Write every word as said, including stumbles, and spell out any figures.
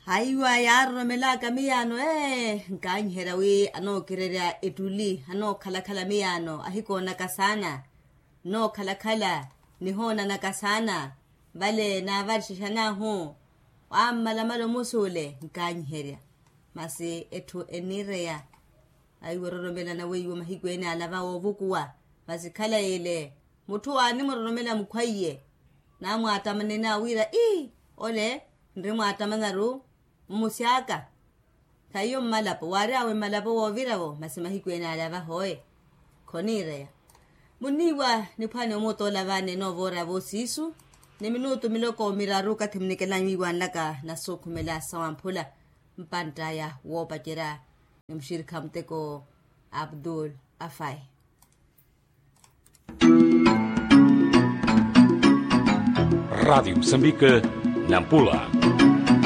Haiwa yaaroromelaka miyaano ee nkaanyiherya wi anookirerya ettuli anookhalakhala miyaano ahikoonaka saana. Nnookhalakhala nihoonanaka saana vale naavarixixanaahu. Wammalamala omusuule nkaanyiherya masi etthu enniireya. Aiwo ororomelana weiwo mahiku ene alava woovukuwa. Masi khala yeele mutthu waanimuroromela mukhwaiye naamwaattamanena wira ii ole nrimwaattamanyaru mmusi aka. Khaiyo mmalapo waari awe mmalapo wooviravo masi mahiku ene ale avahoye. Khoniireya munniiwa niphwani omutoola vaani enoovoora voosiisu ni minutu miloko miraru okathi munikela nwiiwanlaka nasuukhumela sawamphula. Mpantt'aya woopacerya ni muxirikha muteko abdul afai. Radiyo musambika nampula.